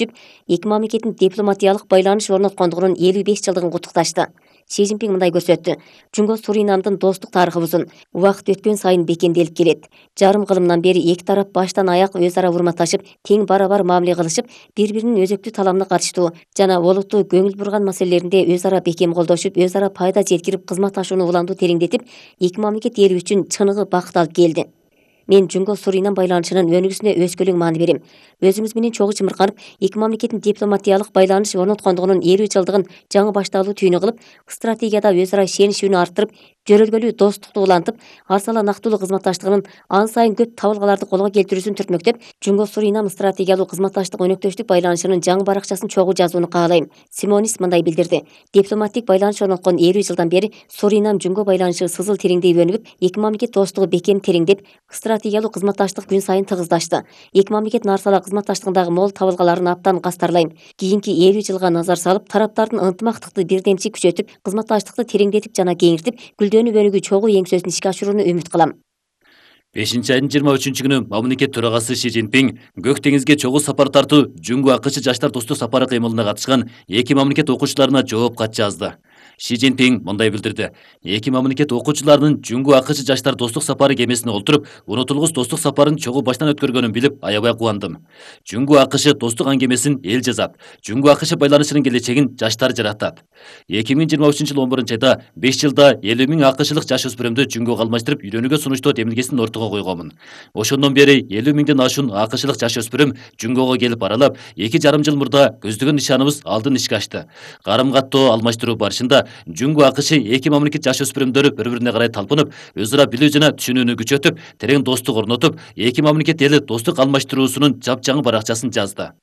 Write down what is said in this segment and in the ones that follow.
эки мамлекеттин дипломатиялык байланыш орноткондугунун 55 жылдыгын куттукташты. Си Цзиньпин мындай көрсөттү. Жунго Суринамдын достук тарыхы узун, убакыт өткөн сайын бекемделип келет. Жарым кылымдан бери эки тарап баштан аяк өз ара урматташып, тең бара-бар мамиле кылышып, бири-биринин өзөктүү таламына катыштуу жана олуттуу көңүл бурган маселелеринде өз ара бекем колдошуп, өз ара пайда жеткирип, кызматташууну уламдуу тереңдетип, эки мамлекет эли үчүн чыныгы бакыт алып келди. Мен Жунго Суринам байланышынын өнүгүүсүнө өзгөлөң маани берем. Өзүңүз менен чогуу чымырканып, эки мамлекеттин дипломатиялык байланыш орноткондугунун 50 жылдыгын жаңы башталуу түйүнү кылып, стратегияда өз ара ишеничүүнү арттырып, жөрөлгөлүү достукту улантып, арсалаактуулуу кызматташтыгынын ан сайын көп табылгаларды колго келтирүүсүн түртмөктөп, Жунго Суринам стратегиялуу кызматташтык өнөктөштүк байланышынын жаңы баракчасын чогуу жазууну каалайм. Симонис мындай билдирди. Дипломатик байланыш орноткон 50 жылдан бери Суринам Жунго байланышы сызыл тереңдей өнүгүп, эки мамлекет достугу бекем тереңдеп, стратегиялуу кызматташтык күн сайын тыгыздашты. Эки мамлекеттин арсалаа кызматташтыгындагы мол табылгаларын абдан кастарлайм. Кийинки 50 жылга назар салып, тараптардын ынтымактыкты бирдемчи күчөтүп, кызматташтыкты тереңдетип жана кеңиртип, гүлдөнүп өнүгүү чогуу еңсөсүн ишке ашырууну үмүт кылам. 5-айдын 23-күнү мамлекет төрагасы Си Цзиньпин Көк деңизге чогуу сапар тартуу Жунго АКШ жаштар достук сапары кыймылына катышкан эки мамлекет окуучуларына жооп кат жазды. Си Цзиньпин мындай билдирди. Эки мамлекет окуучуларынын Жунго АКШ жаштар достук сапары кемесине олтуруп, унутулгус достук сапарын чогуу баштан өткөргөнүн билип, аябай кубандым. Жунго АКШ достук аңгемесин эл жазат. Жунго АКШ байланышынын келечегин жаштар жаратат. 2023-жылы 11-айда 5 жылда 50 000 АКШлык жаш өспүрүмдү Жунгого алмаштырып, үйрөнүүгө сунуштоо демилгесин ортого койгонмун. Ошондон бери 50 000ден ашуун АКШлык жаш өспүрүм Жунгого келип аралап, 2,5 жыл мурда көздөгөн нишаныбыз алдын ишке ашты. Карым-каттоо алмаштыруу барышында Жунго АКШ эки мамлекет жаш өспүрүмдөрү бири-бирине карай талпынып, өз ара билүү жана түшүнүүнү күчөтүп, терең достук орнотуп, эки мамлекет эли достук алмаштыруусунун жапжаңы баракчасын жазды.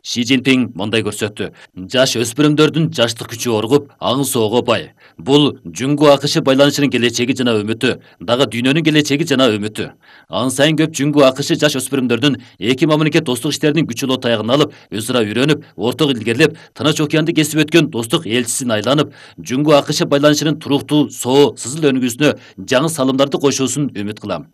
Си Цзиньпин мындай көрсөттү. Жаш өспүрүмдөрдүн жаштык күчү оргуп, аң соого бай. Бул Жунго АКШ байланышынын келечеги жана үмүтү, дагы дүйнөнүн келечеги жана үмүтү. Ан сайын көп Жунго АКШ жаш өспүрүмдөрдүн эки мамлекет достук иштеринин күчөлүү таягын алып, өз ара үйрөнүп, ортого илгерилеп, Тынч океанды кесип өткөн достук элчисин айланып, Жунго АКШ байланышынын туруктуу, соо, сызыл өнүгүүсүнө жаңы салымдарды кошуусун үмүт кылам.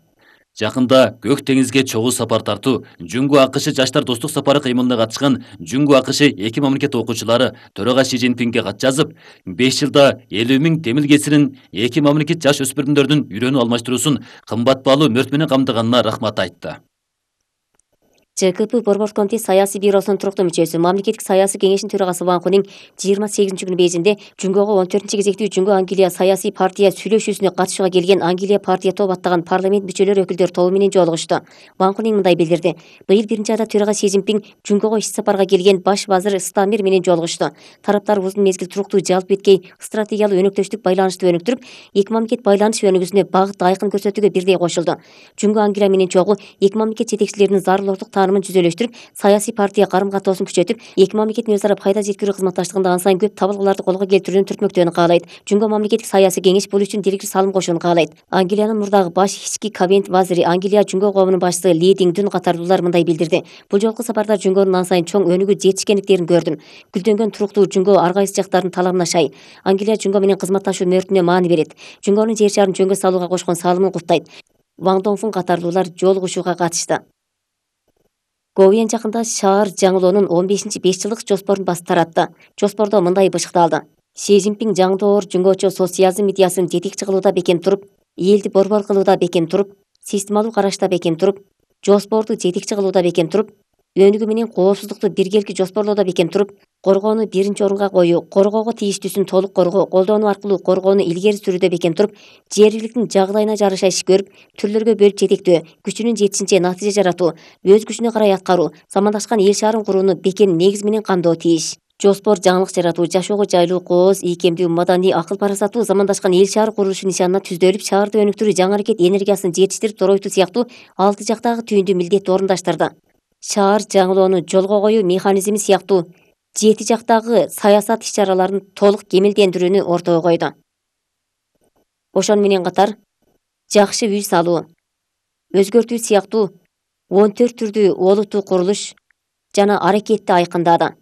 Жакында Көк деңизге чогуу сапар тартуу Жунго АКШ жаштар достук сапары кыймылына катышкан Жунго АКШ эки мамлекет окуучулары төрага Си Цзиньпинге кат жазып, 5 жылда 50 000 демилгесинин эки мамлекет жаш өспүрүмдөрдүн үйрөнүү алмаштыруусун кымбат баалуу мөрт менен камтыганына рахмат айтты. ЖКП Борбор комитет саясий бюросунун туруктуу мүчөсү, мамлекеттик саясий кеңештин төрагасы Ван Хунин 28-күнү Бейжиңде Жунгого 14 кезектүү Жунго Англия саясий партия сүйлөшүүсүнө катышууга келген Англия партия топ аттаган парламент мүчөлөр өкүлдөр тобу менен жолугушту. Ван Хунин мындай билдирди. Быйыл 1-айда төрага Си Цзиньпин Жунгого иш сапарга келген баш вазир Стамер менен жолугушту. Тараптар узун мезгил туруктуу жалп эткей стратегиялуу өнөктөштүк байланышты өнүктүрүп, эки мамлекет байланыш өнүгүүсүнө багыт айкын көрсөтүүгө бирдей кошулду. Жунго Англия менен чогуу эки мамлекет жетекчилеринин зарылоолук таанымын жүзөлөштүрүп, саясий партия карым-каттоосун күчөтүп, эки мамлекеттин өз ара пайда жеткирүү кызматташтыгында ан сайын көп табылгаларды колго келтирүүнү түртмөктөөнү каалайт. Жунго мамлекеттик саясий кеңеш бул үчүн директир салым кошууну каалайт. Англиянын мурдагы баш ички кабинет вазири, Англия Жунго коомунун башчысы Ли Диңдүн катардуулар мындай билдирди. Бул жолку сапарда Жунгонун ан сайын чоң өнүгүү жетишкендиктерин көрдүм. Гүлдөнгөн туруктуу Жунго ар кайсы жактардын талабына шай. Англия Жунго менен кызматташуу мөртүнө маани берет. Жунгонун жер шарын жөнгө салууга кошкон салымын куттайт. Ван Доңфун катардуулар жолугушууга катышты. Говен жакында шаар жаңылоонун 15-5 жылдык жоспорун басып таратты. Жоспордо мындай бышыкталды. Си Цзиньпин жаңдоор жунгочо социализм идеясын жетекчи кылууда бекем туруп, элди борбор кылууда бекем туруп, системалуу карашта бекем туруп, жоспорду жетекчи кылууда бекем туруп, өнүгүү менен коопсуздукту биргеликти жоспорлоодо бекем туруп, коргоону биринчи орунга коюу, коргоого тийиштүүсүн толук коргоо, колдонуу аркылуу коргоону илгери сүрүүдө бекем туруп, жергиликтин жагдайына жараша иш көрүп, түрлөргө бөлүп жетектөө, күчүнүн жетишинче натыйжа жаратуу, өз күчүнө карай аткаруу, замандашкан эл шаарын курууну бекем негиз менен камдоо тийиш. Жоспор жаңылык жаратуу, жашоого жайлуу, кооз, ийкемдүү, маданий, акыл парасаттуу замандашкан эл шаары курулушу нишанына түздөлүп, шаарды өнүктүрүү, жаңы аракет энергиясын жетиштирип доройтуу сыяктуу 6 жактагы түйүндүү милдетти орундаштырды. Шаар жаңылоону жолго коюу механизми сыяктуу 7 жактагы саясат иш-чараларын толук кемелдендирүүнү ортого койду. Ошону менен катар жакшы үй салуу, өзгөртүү сыяктуу 14 түрдүү олуттуу курулуш жана аракетти айкындады.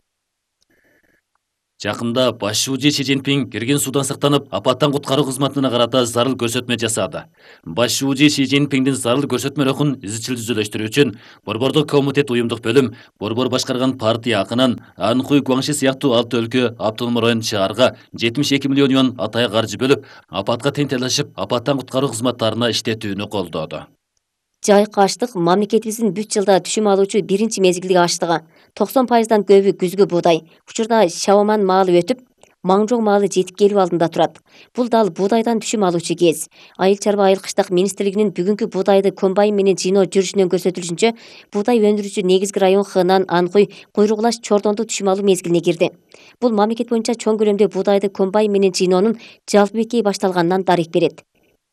Жакында баш шуучу Си Цзиньпин кирген судан сактанып, апаттан куткаруу кызматына карата зарыл көрсөтмө жасады. Баш шуучу Си Цзиньпиндин зарыл көрсөтмөлөрүн изчил түзүлүштүрүү үчүн Борбордук комитет уюмдук бөлүм, Борбор башкарган партия акынан Анхуй Гуаңши сыяктуу 6 өлкө автоном район шаарга 72 миллион юан атайы каржы бөлүп, апатка тең талашып, апаттан куткаруу кызматтарына иштетүүнү колдоду. Жайкы аштык мамлекетибиздин бүт жылда түшүм алуучу биринчи мезгилдеги аштыгы. 90% көбү күзгү буудай. Учурда Шаоман маалы өтүп, Маңжоң маалы жетип келүү алдында турат. Бул дал буудайдан түшүм алуучу кез. Айыл чарба айыл кыштак министрлигинин бүгүнкү буудайды комбайн менен жыйноо жүрүшүнөн көрсөтүлүшүнчө, буудай өндүрүүчү негизги район Хынан, Анхуй, Куйругулаш, Чордонду түшүм алуу мезгилине кирди. Бул мамлекет боюнча чоң көлөмдө буудайды комбайн менен жыйноонун жалпы бекеи башталганынан дарек берет.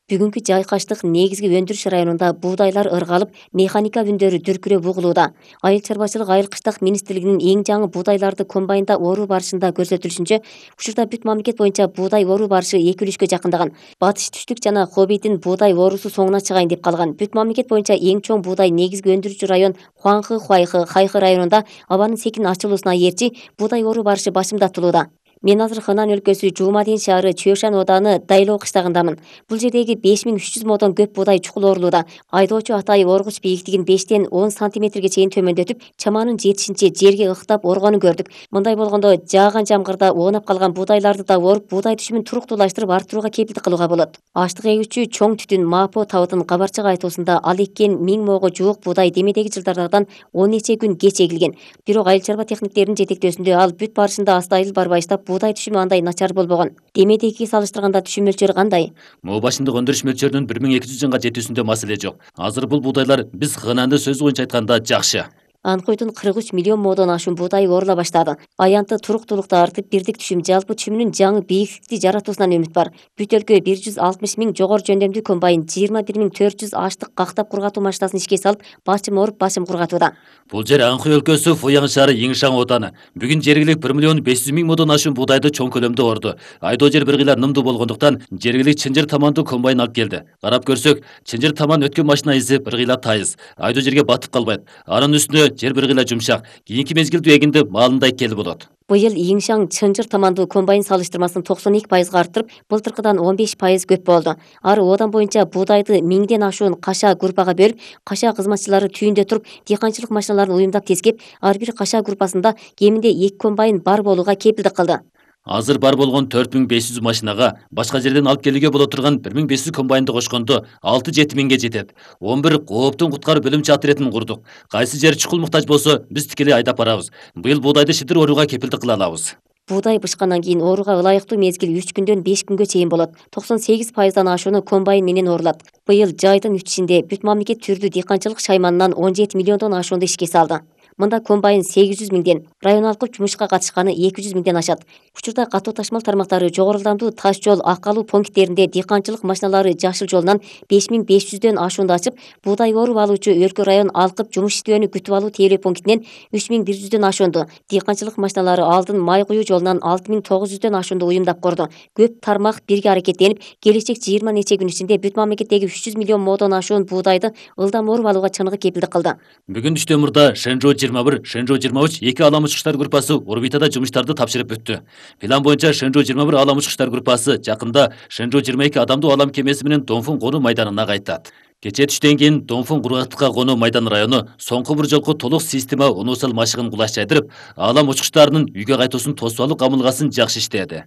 Бүгүнкү жайкаштык негизги өндүрүш районунда буудайлар ыргалып, механика үндөрү дүркүрөп угулууда. Айыл чарбачылык айыл кыштак министрлигинин эң жаңы буудайларды комбайнда оруу барышында көрсөтүлүшүнчө, учурда бүт мамлекет боюнча буудай оруу барышы 2-3кө жакындаган. Батыш түштүк жана Хобейдин буудай оруусу соңуна чыгайын деп калган. Бүт мамлекет боюнча эң чоң буудай негизги өндүрүүчү район Хуаңхы, Хуайхы, Хайхы районунда абанын секин ачылуусуна ээрчи буудай оруу барышы башымдатылууда. Мен азыр Хынан өлкөсү Жуумадин шаары Чөшан ооданы Дайлоо кыштагындамын. Бул жердеги 5300 модон көп буудай чукул орулууда. Айдоочу атайы оргуч бийиктигин 5-10 сантиметрге чейин төмөндөтүп, чаманын жетишинче жерге ыктап оргонун көрдүк. Мындай болгондо жааган жамгырда оонап калган буудайларды да оруп, буудай түшүмүн туруктуулаштырып арттырууга кепилдик кылууга болот. Аштык эгүүчү чоң түтүн Мапо табытын кабарчык айтуусунда ал эккен 1000 моого жуук буудай демедеги жылдардан 10 нече күн кеч эгилген. Бирок айыл чарба техниктеринин жетектөөсүндө ал бүт барышында астайыл барбайыштап, буудай түшүмү андай начар болбогон. Демедегиге салыштырганда түшүм мөлчөрү кандай? Моо башындык өндүрүш мөлчөрүнүн 1200 жанга жетүүсүндө маселе жок. Азыр бул буудайлар биз Хынанды сөз боюнча айтканда жакшы. Анхуйдун 43 миллион модон ашуун буудай орула баштады. Аянты туруктуулукта артып, бирдик түшүм жалпы түшүмүнүн жаңы бийиктикти жаратуусунан үмүт бар. Бүт өлкө 160 000 жогору жөндөмдүү комбайн, 21 400 аштык кактап кургатуу машинасын ишке салып, башым оруп, башым кургатууда. Бул жер Анхуй өлкөсү Фуяң шаары Йиңшаң ооданы. Бүгүн жергилик 1 миллион 500 000 модон ашуун буудайды чоң көлөмдө орду. Айдоо жер бир кыйла нымдуу болгондуктан жергилик Чынжыр таманду комбайн алып келди. Карап көрсөк, Чынжыр таман өткөн машина изи бир кыйла тайыз. Айдоо жерге батып калбайт. Анын үстүнө жер бир кыйла жумшак. Кийинки мезгилде эгинде маалындай келип болот. Быйыл Йиңшаң Чынжыр таманду комбайн салыштырмасын 92%га арттырып, былтыркыдан 15% көп болду. Ары одан боюнча буудайды 1000ден ашуун каша группага бөлүп, каша кызматчылары түйүндө туруп, дыйканчылык машиналарын уюмдап тескеп, ар бир каша группасында кеминде 2 комбайн бар болууга кепилдик кылды. Азыр бар болгон 4500 машинага башка жерден алып келүүгө боло турган 1500 комбайнды кошкондо 6-7 миңге жетет. 11 кооптун куткаруу бөлүмчө отрядын курдук. Кайсы жер чукул муктаж болсо, биз тикелей айдап барабыз. Быйыл буудайды шидир орууга кепилдик кыла алабыз. Буудай бышкандан кийин орууга ылайыктуу мезгил 3 күндөн 5 күнгө чейин болот. 98%дан ашууну комбайн менен орулат. Быйыл жайдын үтүшүндө бүт мамлекет түрдүү дыйканчылык шайманынан 17 миллиондон ашуунду ишке салды. Мында комбайн 800 000ден, район алкып жумушка катышканы 200 000ден ашат. Учурда катуу ташмал тармактары жогору ылдамдуу таш жол акалуу пункттеринде дыйканчылык машиналары жашыл жолунан 5500дөн ашуунду ачып, буудай оруп алуучу өлкө район алкып жумуш иштөөнү күтүп алуу тейлөө пунктинен 3100дөн ашуунду, дыйканчылык машиналары алдын май куюу жолунан 6900дөн ашуунду уюмдап корду. Көп тармак бирге аракеттенип, келечек 20 нече күн ичинде бүт мамлекеттеги 300 миллион модон ашуун буудайды ылдам оруп алууга чыныгы кепилдик кылды. Бүгүн түштө мурда Шэнжоу 21, Шэнжоу 23 эки алам учкучтар группасы орбитада жумуштарды тапшырып бүттү. План боюнча Шэнжоу 21 алам учкучтар группасы жакында Шэнжоу 22 адамдуу алам кемеси менен Донфун конуу майданына кайтат. Кечээ түштөн кийин Донфун кургактыкка конуу майдан району соңку бир жолку толук система унуусал машыгын кулаш жайдырып, алам учкучтарынын үйгө кайтуусун тосуп алуу камылгасын жакшы иштеди.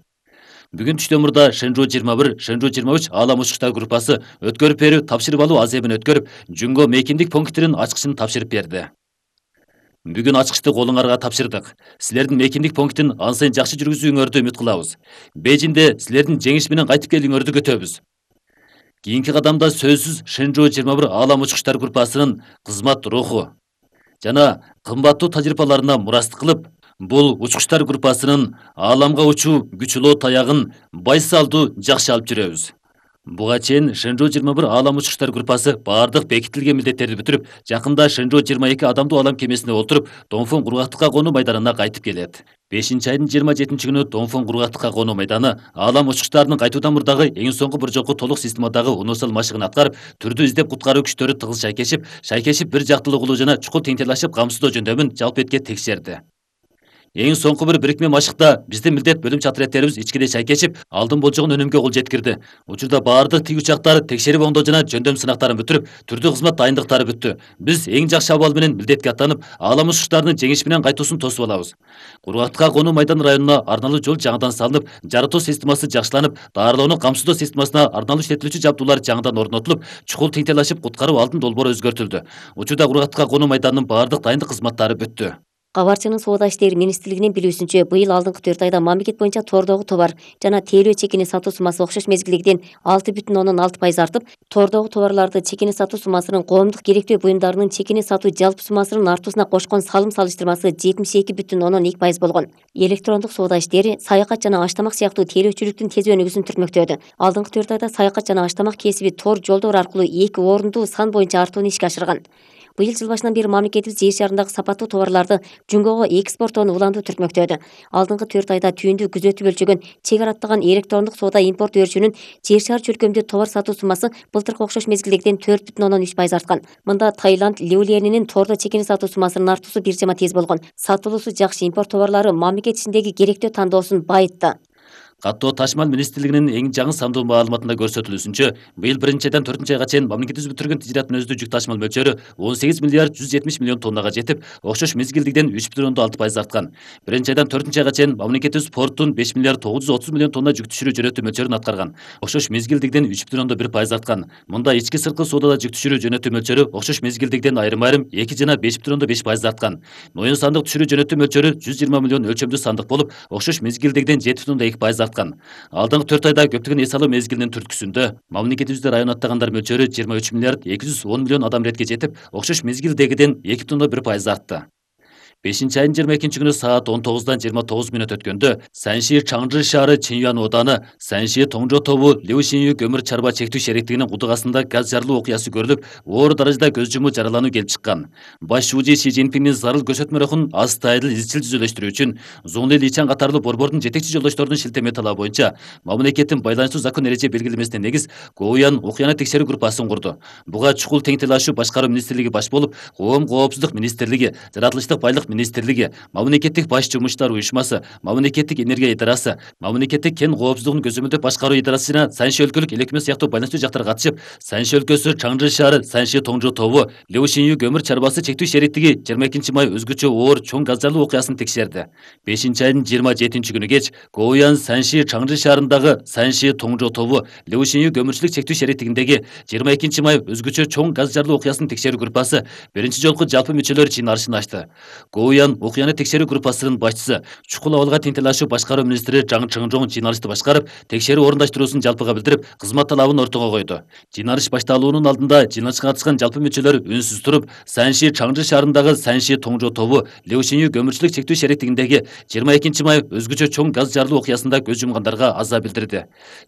Бүгүн түштө мурда Шэнжоу 21, Шэнжоу 23 алам учкучтар группасы өткөрүп берүү, тапшырып алуу азебин өткөрүп, Жүнгө мейкиндик пункттерин ачкычын тапшырып берди. Бүгүн ачкычты колуңарга тапшырдык. Силердин мейкиндик пунктин ан сайын жакшы жүргүзүүңөрдү үмүт кылабыз. Бейжиңде силердин жеңиш менен кайтып келүүңөрдү күтөбүз. Кийинки кадамда сөзсүз Шэнжоу 21 алам учкучтар группасынын кызмат руху жана кымбаттуу тажрыйбаларына мурастык кылып, бул учкучтар группасынын ааламга учуу күчүлөө таягын байсалдуу жакшы алып жүрөбүз. Буга чейин Шэнжоу 21 алам учкучтар группасы баардык бекитилген милдеттерди бүтүрүп, жакында Шэнжоу 22 адамдуу алам кемесине олтуруп, Донфун кургактыкка конуу майданына кайтып келет. 5-айдын 27-күнү Донфун кургактыкка конуу майданы алам учкучтарынын кайтуудан мурдагы эң соңку бир жолку толук системадагы унуусал машыгын аткарып, түрдүү издеп куткаруу күчтөрү тыгыз шайкешип, бир жактылуу кылуу жана чукул теңтелашып камсыздоо жөндөмүн жалпы этке текшерди. Эң соңку бир бирикме машыкта биздин милдет бөлүм чатыреттерибиз ичкиде чайкешип, алдын болжогон өнүмгө кол жеткирди. Учурда баардык тик учактар текшерип оңдоо жана жөндөм сынактарын бүтүрүп, түрдүү кызмат дайындыктары бүттү. Биз эң жакшы абал менен милдетке аттанып, ааламыш учуштардын жеңиш менен кайтуусун тосуп алабыз. Кургактыкка конуу майдан районуна арналуу жол жаңыдан салынып, жарытуу системасы жакшыланып, даарылоону камсыздоо системасына арналуу иштетилүүчү жабдуулар жаңыдан орнотулуп, чукул теңтелашып куткаруу алдын долбоору өзгөртүлдү. Учурда Кургактыкка конуу майданынын баардык дайындык кызматтары бүттү. Кабарчынын Соода иштери министрлигинин билүүсүнчө, быйыл алдыңкы 4 айда мамлекет боюнча тордогу товар жана тейлөө чекини сатуу суммасы окшош мезгилдегиден 6,6% артып, тордогу товарларды чекини сатуу суммасынын коомдук керектүү буюмдарынын чекини сатуу жалпы суммасынын артуусуна кошкон салым салыштырмасы 72,2% болгон. Электрондук соода иштери, саякат жана аштамак сыяктуу тейлөөчүлүктүн тез өнүгүүсүн түртмөктөдү. Алдыңкы 4 айда саякат жана аштамак кесиби тор жолдор аркылуу 2 орунду сан боюнча артууну ишке ашырган. Быйыл жыл башынан бери мамлекетибиз жер шарындагы сапаттуу товарларды жумгого экспорттоону улантуу түртмөктөдү. Алдыңкы 4 айда түйүндү күзөтүп өлчөгөн чек араттаган электрондук соода импорт өрчүнүн жер шары чөлкөмдүү товар сатуу суммасы былтыркы окшош мезгилдегиден 4,3% арткан. Мында Таиланд ливуленинин тордо чекини сатуу суммасынын артуусу бир жама тез болгон. Сатылуусу жакшы импорт товарлары мамлекет ичиндеги керектөө тандоосун байытты. Каттоо ташмал министрлигинин эң жаңы сандуу маалыматында көрсөтүлүүсүнчө, быйыл 1-айдан 4-айга чейин мамлекетибиз бүтүргөн тижират мүнөздүү жүк ташмал мөлчөрү 18 миллиард 170 миллион тоннага жетип, окшош мезгилдигиден 3,6% арткан. 1-айдан 4-айга чейин мамлекетибиз порттун 5 миллиард 930 миллион тонна жүк түшүрүү жөнөтүү мөлчөрүн аткарган. Окшош мезгилдигиден 3,1% арткан. Мында ички сырткы соодада жүк түшүрүү жөнөтүү мөлчөрү окшош мезгилдигиден айрым-айрым 2 жана 5,5% арткан. Моюн сандык түшүрүү жөнөтүү мөлчөрү 120 миллион өлчөмдүү сандык болуп, окшош мезгилдигиден 7,2% арткан. Алдыңкы 4 айда көптөгөн эс алуу мезгилинин түрткүсүндө мамлекетибизде район аттагандар мөлчөрү 23 миллиард 210 миллион адам ретке жетип, окшош мезгилдегиден 2,1% артты. 5-айдын 22 күнү саат 19-дан 29 мүнөт өткөндө Санши Чаңжы шаары Чинюан ооданы Санши Тоңжо тобу Леушинью көмүр чарба чектүү шериктигинин кудугасында газ жарылуу окуясы көрүлүп, оор даражада көз жумуу жаралануу келип чыккан. Баш шууji Си Цзиньпиндин зарыл көрсөтмөрөхүн азытайдыл изчил жүзөлөштүрүү үчүн Зуңли Личан катарлуу борбордун жетекчи жолдошторунун шилтеме талабы боюнча мамлекеттин байланыштуу закон эреже белгилемесине негиз Гоуян окуяны текшерүү группасын курду. Буга чукул теңтелашуу башкаруу министрлиги баш болуп, Коом коопсуздук министрлиги, жаратылыштык байлык министрлиги, мамлекеттик баш жумушчулар уюшмасы, мамлекеттик энергия идарасы, мамлекеттик кен коопсуздугун көзөмөлдөп башкаруу идарасы жана Санши өлкөлүк элекме сыяктуу байланыштуу жактар катышып, Санши өлкөсү Чаңжы шаары Санши Тоңжо тобу Леушинью көмүр чарбасы чектүү шериктиги 22 май өзгөчө оор чоң газ жарылуу окуясын текшерди. 5-айдын 27 күнү кеч Гоуян Санши Чаңжы шаарындагы Санши Тоңжо тобу Леушинью көмүрчүлүк чектүү шериктигиндеги 22 май өзгөчө чоң газ жарылуу окуясын текшерүү группасы биринчи жолку жалпы мүчөлөр жыйналышын ачты. Гоуян окуяны текшерүү группасынын башчысы, чукул абалга теңтелашуу башкаруу министри Жаң Чыңжоң жыйналышты башкарып, текшерүү орундаштыруусун жалпыга билдирип, кызмат талабын ортого койду. Жыйналыш башталуунун алдында жыйналышка катышкан жалпы мүчөлөр үнсүз туруп, Санши Чаңжы шаарындагы Санши Тоңжо тобу Леушинью көмүрчүлүк чектүү шериктигиндеги 22 май өзгөчө чоң газ жарылуу окуясында көз жумгандарга аза билдирди.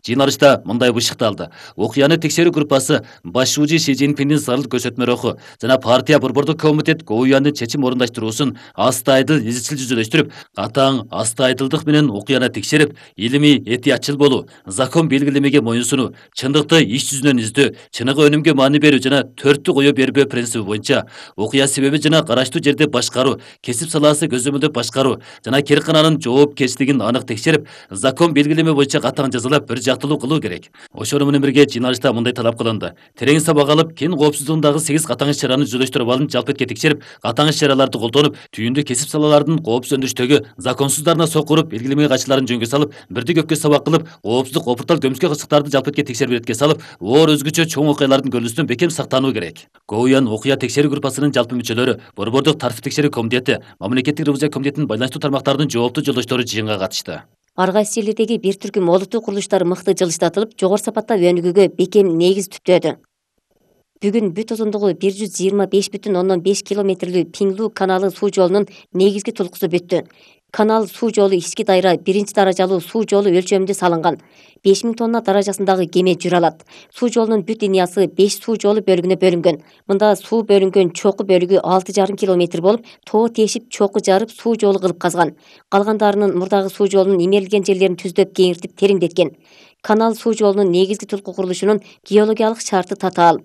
Жыйналышта мындай бышыкталды: окуяны текшерүү группасы баш шууji Си Цзиньпиндин зарыл көрсөтмөрөхү жана партия борбордук комитет Гоуяндын чечим орундаштыруусун азытайдыл изчил жүзөлөштүрүп, катаң азытайдылдык менен окуяны текшерип, илимий этиятчыл болуу, закон белгилемеге моюнсунуу, чындыкты иш жүзүнөн издөө, чыныгы өнүмгө маани берүү жана төрттү коё бербөө принциби боюнча окуя себеби жана караштуу жерде башкаруу, кесип салаасы көзөмөлдөп башкаруу жана керкананын жоопкерчилигин анык текшерип, закон белгилеме боюнча катаң жазалап, бир жактылуу кылуу керек. Ошону менен бирге жыйналышта мындай талап кылынды: терең сабак алып, кен коопсуздугундагы 8 катаң иш-чараны жүзөлөштүрүп абалын жалпы этке текшерип, катаң иш-чараларды колдонуп, түйүндү кесип салалардын коопсуз өндүрүштөгү законсуздарына сокуруп, белгилемеге кайчыларын жөнгө салып, бирди көккө сабак кылып, коопсуздук опуртал көмүскө кырсыктарды жалпы этке текшерип иретке салып, оор өзгөчө чоң окуялардын көрүлүсүнөн бекем сактануу керек. Гоуян окуя текшерүү группасынын жалпы мүчөлөрү, борбордук тартип текшерүү комитети, мамлекеттик ревизия комитетинин байланыштуу тармактарынын жооптуу жолдоштору жыйынга катышты. Ар кайсы жерлердеги бир түркүм олуттуу курулуштар мыкты жылыштатылып, жогору сапатта өнүгүүгө бекем негиз түптөдү. Бүгүн бүт узундугу 125,5 километрлүү Пиңлу каналы суу жолунун негизги тулкусу бүттү. Канал суу жолу ички дайра 1-даражалуу суу жолу өлчөмүндө салынган. 5000 тонна даражасындагы кеме жүрө алат. Суу жолунун бүт линиясы 5 суу жолу бөлүгүнө бөлүнгөн. Мында суу бөлүнгөн чоку бөлүгү 6,5 километр болуп, тоо тешип чоку жарып суу жолу кылып казган. Калгандарынын мурдагы суу жолунун имерилген жерлерин түздөп кеңиртип тереңдеткен. Канал суу жолунун негизги тулку курулушунун геологиялык шарты татаал.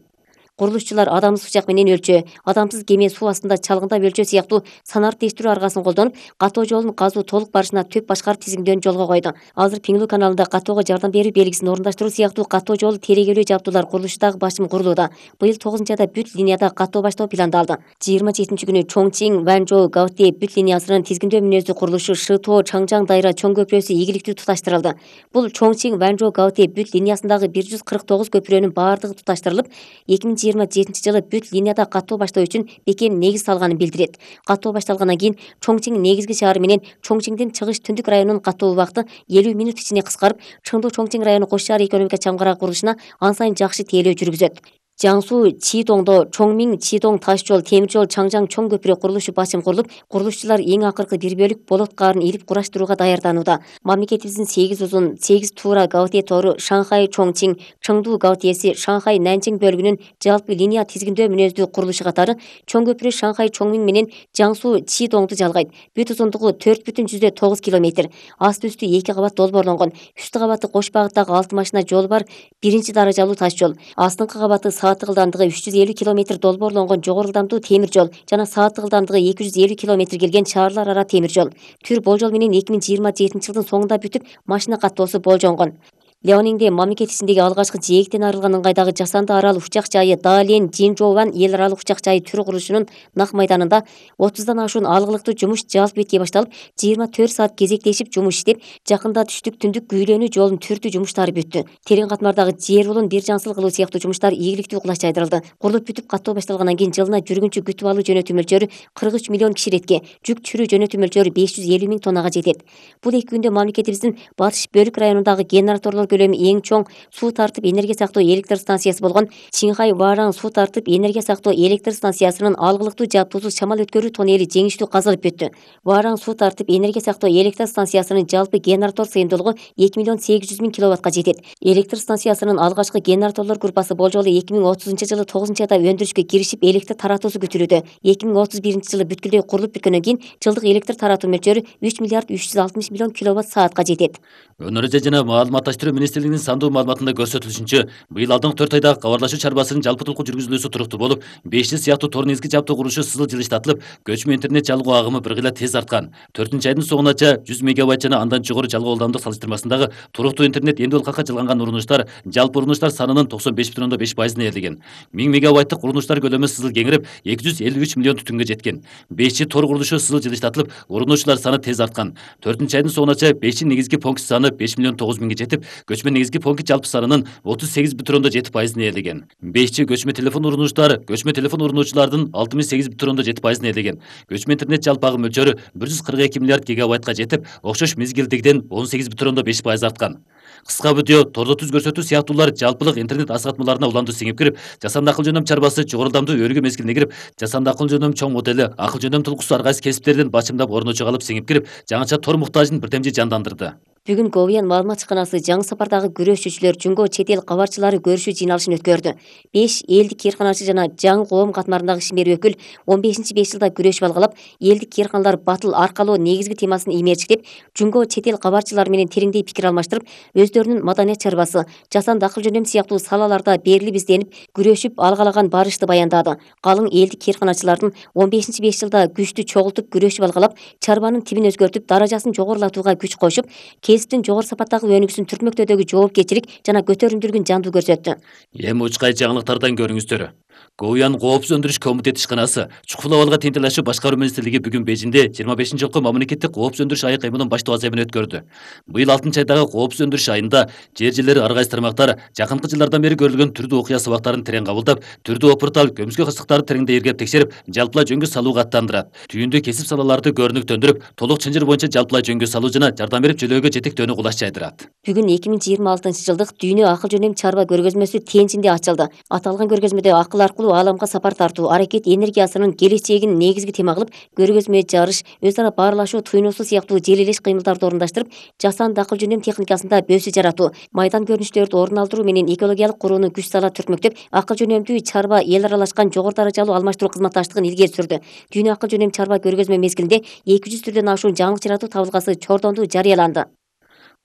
Курулушчулар адамсыз учак менен өлчө, адамсыз кеме суу астында чалгындап өлчө сыяктуу санар тештирүү аргасын колдонуп, катоо жолун казуу толук барышына төп башкарып тизимдөөну жолго койду. Азыр Пиңлүү каналында катоого жардам берүү белгисин орундаштыруу сыяктуу катоо жолу терегелүү жабдуулар курулушу дагы башым курулууда. Быйыл 9-айда бүт линияда катоо баштоо пландалды. 27-күнү Чоңчиң Ванжоу Гаути бүт линиясынын тизгиндөө мүнөздүү курулушу Шытоо Чаңжаң дайра чоң көпүрөсү ийгиликтүү туташтырылды. Бул Чоңчиң Ванжоу Гаути бүт линиясындагы 149 көпүрөнүн баардыгы туташтырылып, 2027 жылы бүт линияда катоо баштоо үчүн бекем негиз салганын билдирет. Катоо башталгандан кийин Чоңчиң негизги шаары менен Чоңчиңдин чыгыш түндүк районунун катоо убакыты 50 мүнөт ичинде кыскарып, Чыңдуу Чоңчиң району кош шаар экономика чамгарагы курулушуна ан сайын жакшы тейлөө жүргүзөт. Жаңсу Чидоңдо Чоңмиң Чидоң таш жол, темир жол, Чаңжаң чоң көпүрө курулушу башым курулуп, курулушчулар эң акыркы бир бөлүк болот каарын илип кураштырууга даярданууда. Мамлекетибиздин 8 узун, 8 туура Гаути тору Шанхай Чоңчиң, Чыңдуу Гаутиеси, Шанхай Нанчиң бөлүгүнүн жалпы линия тизгиндөө мүнөздүү курулушу катары чоң көпүрө Шанхай Чоңмиң менен Жаңсу Чидоңду жалгайт. Бүт узундугу 4,9 километр. Асты үстү 2 кабат долбоорлонгон. Үстү кабаты кош багыттагы 6 машина жол бар 1-даражалуу таш жол. Астыңкы кабаты сааттык ылдамдыгы 350 км долбоорлонгон жогору ылдамдуу темир жол жана сааттык ылдамдыгы 250 км келген шаарлар ара темир жол. Түр болжол менен 2027 жылдын соңунда бүтүп, машина каттоосу болжонгон. Леонинде мамлекет ичиндеги алгачкы жээктен арылган ыңгайдагы жасанды арал учак жайы Даален Жинжоуан эл аралык учак жайы түрү курулушунун нак майданында 30дан ашуун алгылыктуу жумуш жалпы бетке башталып, 24 саат кезектешип жумуш иштеп, жакында түштүк түндүк күйлөнүү жолун түртүү жумуштары бүттү. Терең катмардагы жер булун бир жансыл кылуу сыяктуу жумуштар ийгиликтүү кулач жайдырылды. Курулуп бүтүп каттоо башталгандан кийин жылына жүргүнчү күтүп алуу жөнөтүү мөлчөрү 43 миллион киширетке, жүк чүрүү жөнөтүү мөлчөрү 550 миң тоннага жетет. Бул 2 күндө мамлекетибиздин батыш бөлүк районундагы генераторлор көлөмү эң чоң суу тартып энергия сактоо электр станциясы болгон Чинхай Варан суу тартып энергия сактоо электр станциясынын алгылыктуу жабдуусуз шамал өткөрүү тоннели жеңиштүү казылып бүттү. Варан суу тартып энергия сактоо электр станциясынын жалпы генератор сыйымдуулугу 2 миллион 800 миң киловаттка жетет. Электр станциясынын алгачкы генераторлор группасы болжолу 2030 жылы 9-айда өндүрүшкө киришип, электр таратуусу күтүлүүдө. 2031 жылы бүткүлдөй курулуп бүткөндөн кийин жылдык электр таратуу мөлчөрү 3 миллиард 360 миллион киловатт саатка жетет. Өнөр жана маалыматташтыруу министрлигинин сандуу маалыматында көрсөтүлүшүнчө, быйыл алдыңкы 4 айда кабарлашуу чарбасынын жалпы тулку жүргүзүлүүсү туруктуу болуп, 500 сыяктуу тор негизги жабдуу курулушу сызыл жылыштатылып, көчмө интернет жалгоо агымы бир гыйла тез арткан. 4-айдын соңунача 100 мегабайт жана андан жогору жалгоо ылдамдык салыштырмасындагы туруктуу интернет эмне калка жалганган урунуштар жалпы урунуштар санынын 95,5% ээлеген. 1000 мегабайттык урунуштар көлөмү сызыл кеңирип, 253 миллион түтүнгө жеткен. 5 тор курулушу сызыл жылыштатылып, урунуучулар саны тез арткан. 4-айдын соңунача 5 негизги пункт саны 5 миллион 9 миңге жетип, көчмө негизги пункт жалпы санынын 38,7% ээлеген. 5 көчмө телефон урунуучулардын 68,7% ээлеген. Көчмө интернет жалпы агым мөлчөрү 142 миллиард гигабайтка жетип, окшош мезгилдигиден 18,5% арткан. Кыска видео, тордо түз көрсөтүү сыяктуулар жалпылык интернет асгатмаларына уланды сиңип кирип, жасанды акыл жөнөм чарбасы жогору ылдамдуу өргө мезгилине кирип, жасанды акыл жөнөм чоң модели, акыл жөнөм тулкусу ар кайсы кесиптерден бачымдап орночо калып сиңип кирип, жаңыча тор муктажын бирдемчи жандандырды. Бүгүн Говиян маалымат чыканасы жаңы сапардагы күрөшчүчүлөр жумго чет эл кабарчылары көрүшүү жыйналышын өткөрдү. 5 элдик кээрканачы жана жаңы коом катмарындагы ишмер өкүл 15-5 жылда күрөшүп алгалап, элдик кээрканалар батыл аркалоо негизги темасын иймерчиктеп, жумго чет эл кабарчылары менен тереңдей пикир алмаштырып, өздөрүнүн маданият чарбасы, жасанды акыл жөнөм сыяктуу салаларда берилип изденип, күрөшүп алгалаган барышты баяндады. Калың элдик кээрканачылардын 15-5 жылда күчтү чогултуп күрөшүп алгалап, чарбанын тибин өзгөртүп, даражасын жогорулатууга күч кошуп, кесиптин жогору сапаттагы өнүгүүсүн түртмөктөөдөгү жоопкерчилик жана көтөрүмдүүлүгүн жандуу көрсөттү. Эми учкай жаңылыктардан көрүңүздөр. Говиян коопсуз өндүрүш комитети ишканасы чукул абалга тентелешүү башкаруу министрлиги бүгүн Бейжиңде 25-жылкы мамлекеттик коопсуз өндүрүш айы кыймылын баштоо аземин өткөрдү. Быйыл 6-айдагы коопсуз өндүрүш айында жер ар кайсы тармактар жакынкы жылдардан бери көрүлгөн түрдүү окуя сабактарын терең кабылдап, түрдүү опуртал көмүскө кырсыктарды тереңдей иргеп текшерип, жалпылай жөнгө салууга аттандырат. Түйүндүү кесип салаларды көрүнүктөндүрүп, толук чынжыр боюнча жалпылай жөнгө салуу жана жардам берип жөлөөгө жетектөөнү кулаш жайдырат. Бүгүн 2026 жылдык дүйнө акыл жөнөм чарба көргөзмөсү Тенжинде ачылды. Аталган көргөзмөдө акыл аркылуу ааламга сапар тартуу, аракет энергиясынын келечегин негизги тема кылып, көргөзмө жарыш, өз ара баарлашуу, туйнуусу сыяктуу желелеш кыймылдарды орундаштырып, жасанды акыл жөнөм техникасында бөөсү жаратуу, майдан көрүнүштөрдү орун алдыруу менен экологиялык курууну күч сала түртмөктөп, акыл жөнөмдүү чарба эл аралашкан жогору даражалуу алмаштыруу кызматташтыгын илгери сүрдү. Дүйнө акыл жөнөм чарба көргөзмө мезгилинде 200 түрдөн ашуун жаңылык жаратуу табылгасы чордонду жарыяланды.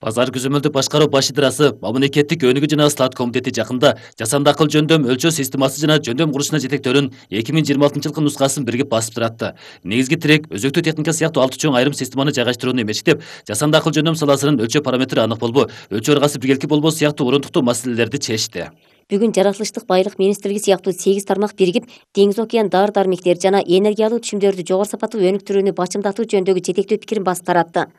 Базар көзөмөлдүк башкаруу баш ыдрасы мамлекеттик өнүгүү жана ысылат комитети жакында жасанды акыл жөндөм өлчөө системасы жана жөндөм курушуна жетектөөнүн 2026 жылкы нускасын бирге басып туратты. Негизги тирек өзөктүү техника сыяктуу 6 чоң айрым системаны жайгаштырууну эмечтеп, жасанды акыл жөндөм саласынын өлчөө параметри анык болбоо, өлчөө ыргасы биргеликти болбоо сыяктуу орундуктуу маселелерди чечти. Бүгүн жаратылыштык байлык министрлиги сыяктуу 8 тармак биригип, деңиз океан дары дармектер жана энергиялуу түшүмдөрдү жогору сапаттуу өнүктүрүүнү бачымдатуу жөнүндөгү жетектүү пикирин басып таратты.